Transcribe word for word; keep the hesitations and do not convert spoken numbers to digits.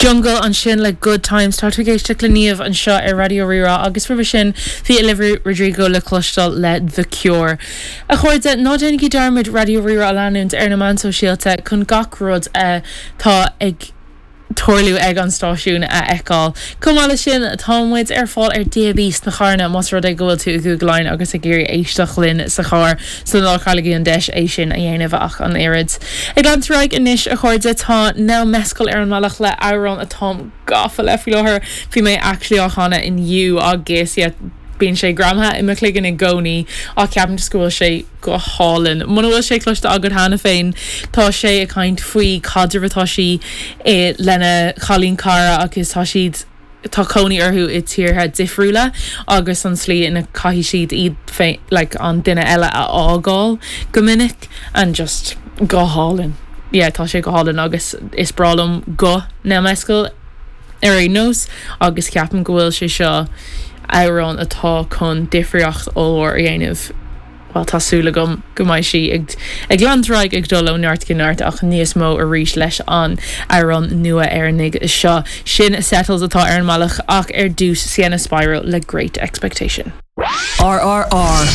Jungle ansin le Good Times tá tú ag éisteacht le Niamh anseo ar Raidió Rí-Rá agus roimhe sin bhí Olivia Rodrigo le cloisteáil le The Cure. A chairde ná déanaigí dearmad Raidió Rí-Rá a leanúint ar na meáin shóisialta chun gach rud atá ag tarlú ag an stáisiún a fheiceáil. Chomh maith leis sin tá muid ar fáil ar DAB sna carranna más rud é go bhfuil tú i gCúige Laighean agus ag iarraidh éisteacht linn sa charr so ná cailligí an deis é sin a dhéanamh ach an oiread. Ag leanúint ar aghaidh anois a chairde tá Nell Mescal ar an mbealach le amhrán atá gafa le faoi láthair bhí mé actually á chanadh inniu agus yeah, bíonn sé greamaithe i mo chloigeann i gcónaí ach ceapaim go bhfuil sé go hálainn. Muna bhfuil sé cloiste agat cheana féin tá sé ag caint faoi caidreamh atá sí eh, lena cailín cara agus tá siad tá cónaí orthu i tíortha difriúla agus an slí ina caithfidh siad iad féin like, an duine eile a fhágáil go minic and just go hálainn. Yeah, tá sé go hálainn agus is breá liom guth Nell Mescal ar aon nós agus ceapaim go bhfuil sé seo amhrán atá chun difríocht ollmhór a dhéanamh. Well tá súil agam go mbeidh sí ag ag leanúint ag dul ó neart go neart ach níos mó arís leis an amhrán nua Éireannaigh seo. Sin Settles atá ar an mbealach ach ar dtús Sienna Spiro le Great Expectation. RRR.ie